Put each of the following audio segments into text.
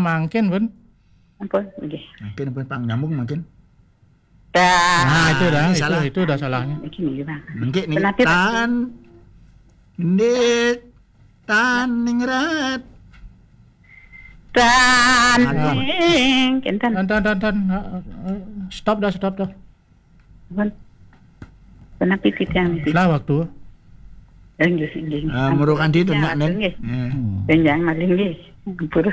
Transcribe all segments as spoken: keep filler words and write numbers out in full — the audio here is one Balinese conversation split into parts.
Mangkin pun. Ampun, nggih. Mangkin pun pang nyambung mangkin. Dah. Nah, itu dah, ini itu, salah. Itu dah salahnya. Niki, niki, Bang. Nggih, niki. Kenapa, Pak? Tan ndik tan ningrat. Tan. Aduh. Ning, kinten. Tan, tan, tan, tan. Eh, eh, stop dah, stop dah. Pun. Kenapa titiang niki? Lah waktu. Nggih, nggih. Ah, ampun, merukan dia titiang, nyak, Nen. Nggih. Ya. Hmm. Panjang malih nggih. Ampun.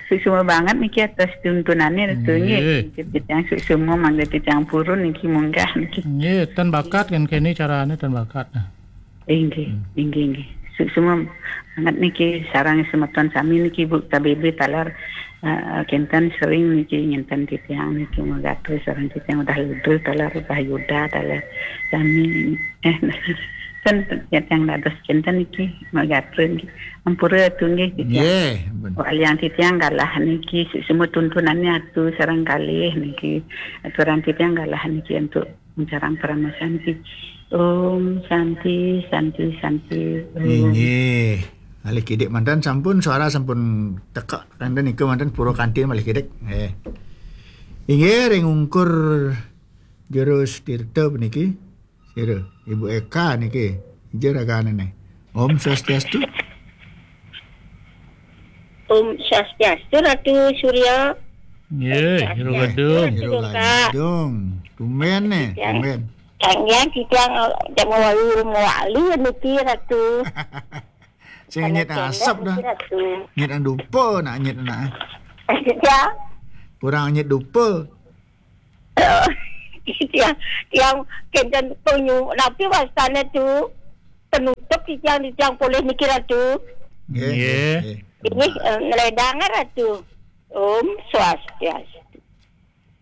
Suksma banget niki atas tuntunannya, Ratu, nggih. Nggih. Titiang suksma mangga titiang purun niki munggah niki. Nggih, ten bakat kan kene carane ten bakat. Inggih, inggih, inggih. Suksma banget niki sareng semeton sami niki, Bu, K B B taler, eh, kinten sering niki nginten titiang niki megatus sareng titiang udah ludul taler, udah yuda taler. Sami, eh, ten titiang dados kinten niki megatus niki. Ampura, Ratu, nggih, titiang. Nggih, pun. Walian titiang galah niki suksma tuntunannya Ratu sareng kalih niki. Aturan titiang galah niki untuk Sareng Parama Santi. Om Santi, Santi, Santi. Om. Inggih. Malih kidik manten sampun, suara sampun teka, kanten nika manten pura kanthi malih kidik. Eh. Inggih, ring ungkur Jero Tirta puniki. Sira, Ibu Eka niki. Ija ragane ne. Om Swastiastu. Om Swastiastu, Ratu Surya. Nggih, Swastiastu, Jero Gadung. Ratu Jero Gadung. Tumben ne, tumben. Kang Yang titiang, eh, jam walu mewali niki, Ratu. Sing nyet asap dah. Niki, Ratu. Nyet dupa nak nyet nak. Ya. Kurang nyet dupa. Tiang, tiang kinten penyu, napi wastane tu? Penutup titiang, titiang polih niki, Ratu. Nggih, nggih, nggih. Ini, eh, ngeledang, Ratu. Om Swastiastu.